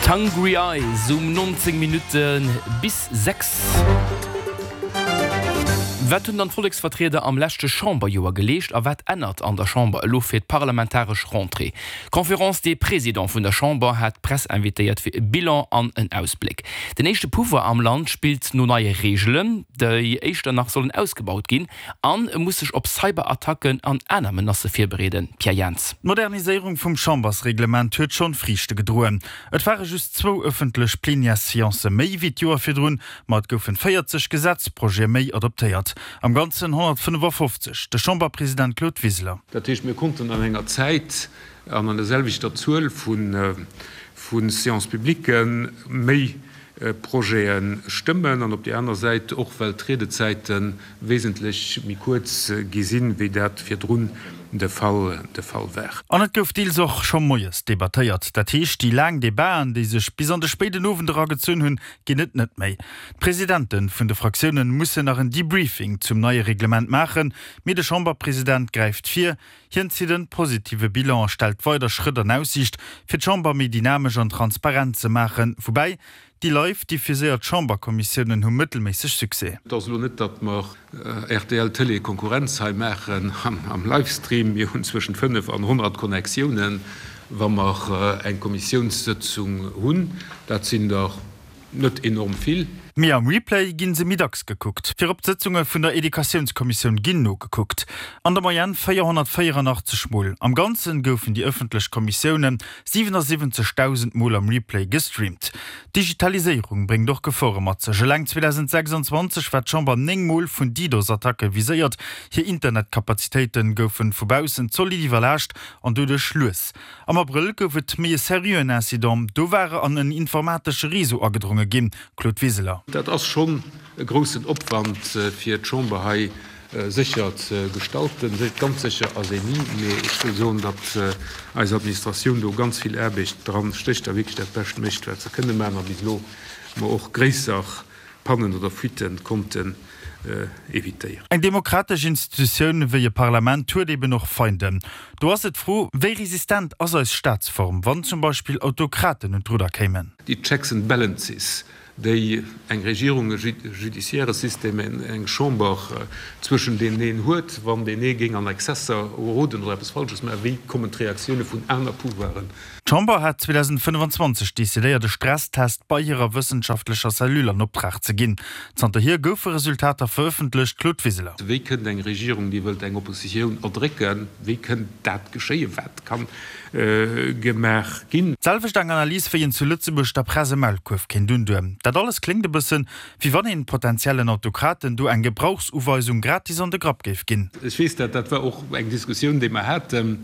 D'Hungry Eyes um 19 Minutte bis 6. Wat hunn dann d'Volleksvertrieder am leschte Chamberjoer geleescht a wat ännert an der Chamber elo fir d'parlamentaresch Rentrée? D'Conférence des Présidents vun der Chamber hat d'Press invitéiert fir e Bilan an en Ausbléck. Den éischte Pouvoir am Land spillt no neie Reegelen, déi éischter nach sollen ausgebaut ginn. An e muss sech op Cyberattacken an aner Menacë virbereeden. Pierre Jans. D'Moderniséierung vum Chambersreglement huet schonn Friichte gedroen. Et ware just zwou ëffentlech Plenièresseancë méi wéi d'Joer virdrun, ma et goufen 40 Gesetzprojete méi adoptéiert, am Ganzen 155. De Chamberpresident Claude Wiseler. Dat heescht, mir konnten an enger Zäit an an der selwechter Zuel vu Séances publiques méi Projete stëmmen an op där aner Säit och well d'Riedezäite wesentlech méi kuerz gi sinn, wéi dat virdrun de Fall de Fall war. An et gouf deels och scho moies debattéiert. Dat heescht, déi laang Debaten, déi sech bis an de spéiden Owend era gezunn hunn, ginn et net méi. D'Presidente vun de Fraktiounen mussen nach en Debriefing zum neie Reglement maachen, mee de Chamberpresident gräift vir. Hien zitt en positive Bilan a stellt weider Schrëtt an Aussiicht, fir d'Chamber méi dynamesch an transparent ze maachen. Woubäi, déi live diffuséiert Chamberkommissiounen hu mëttelméisseg Succès. Et ass elo net, datt mer rtl Télé Konkurrenz hei maachen am Livestream. Mir hunn zwëschent 5 an 100 Connectiounen, wa mer eng Kommissiounssëtzung hunn. Dat sinn der Net enorm vill. Mee am Replay ginn se méi dacks gekuckt. Virop d'Sëtzunge vun der Educatiounskommissioun ginn nogekuckt. An der Moyenne 484 Mol. Am Ganzen goufen déi ëffentlech Kommissioune 77.000 Mol am Replay gestreamt. D'Digitaliséierung bréngt och Gefore mat sech. Eleng 2026 war d'Chamber 9 Mol vun DDoS-Attacke viséiert. Hir Internetkapazitéite goufe vu baussen zolidd iwwerlaascht an doduerch lues. Am Abrëll gouf et méi e seriöen Incident, do war an en informatesche Réseau agedronge ginn. Claude Wiseler. Dat ass schonn e groussen Opwand, fir d'Chamber hei sécher ze gestalten. Ganz sécher ass een ni, mee ech wëll soen, datt eis Administratioun do ganz vill Aarbecht dran stécht a wierklech dat Bescht mécht, wat se kënne maachen a bis elo mer och gréisser Pannen oder Fuitte konnten evitéieren. Eng demokratesch Institutioun wéi e Parlament huet eben och Feinden. Do ass et d'Fro, wéi resistent ass eis Staatsform, wann zum Beispill Autokraten un d'Rudder kéimen? Déi Checks and Balances, déi eng Regierung, e judiciaire System, eng Chamber zwëschen deenen huet, wann deen ee géing an Exzesser geroden oder eppes Falsches maachen, wéi kommen d'Reaktioune vun aner Pouvoiren? D'Chamber hat 2025 decidéiert, e Stresstest bei hirer wëssenschaftlecher Cellule an Optrag ze ginn. Zanterhier goufe Resultater verëffentlecht. Claude Wiseler. Wéi kënnt eng Regierung, déi wëllt eng Oppositioun erdrécken, wéi kënnt dat geschéien? Wat ka gemaach ginn? D'selwecht eng Analys, wéi een zu Lëtzebuerg der Press e Maulkuerf kéint undoen. Dat alles kléngt e bëssen, wéi wann een potentiellen Autokraten do eng Gebrauchsuweisung gratis an de Grapp géif ginn. Ech weess dat, dat war och eng Diskussioun, déi mer haten.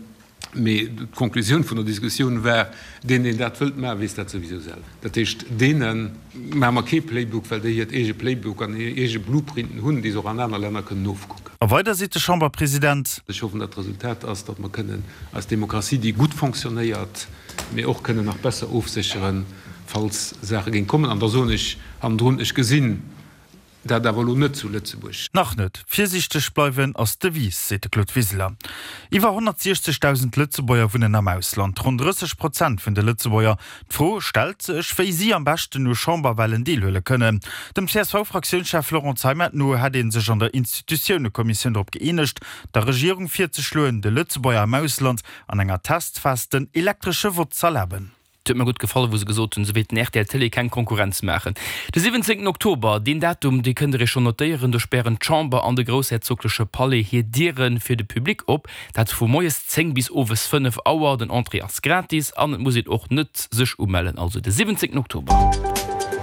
Mee d'Konklusioun vun der Diskussioun war, Deen, deen dat wëllt maachen, weess dat souwisou selwer. Dat heescht, deene maache mer kee Playbook, well déi hiert eege Playbook an hir eege Blueprinten hunn, déi se och an aner Länner kënnen ofkucken. A weider seet de Chamberpresident. Ech hoffen, datt d'Resultat ass, datt mer kënnen eis Demokratie, déi gutt fonctionnéiert, mee och kënnen nach besser ofsécheren, falls Saache géing kommen. An da soen ech hannendrun, ech gesinn Dat awer elo net zu Lëtzebuerg. Nach net. Virsiichteg bleiwen ass d'Devise, seet de Claude Wiseler. Iwwer 160.000 Lëtzebuerger wunnen am Ausland, ronn 30 Prozent vun de Lëtzebuerger. D'Fro stellt sech, wéi si am beschten u Chamberwalen deelhuele kënnen. Dem CSV-Fraktiounschef Laurent Zeimet no hätt ee sech an der Institutiounekommissioun drop gëeenegt, der Regierung virzeschloen, de Lëtzebuerger am Ausland an enger Testphas den elektresche Vott z'erlaben. Et huet mer gutt gefall, wou se gesot hunn, se wéilten rtl Télé keng Konkurrenz maachen. De 17 Oktober, deen Datum, dee kënnt der iech schonn notéieren, do spären d'Chamber an de groussherzogleche Palais hir Diere fir de Public op. Dat vu moies 10 bis owes 5 Auer. Den Entrée ass gratis an et muss een och net sech umellen. Also de 17 Oktober.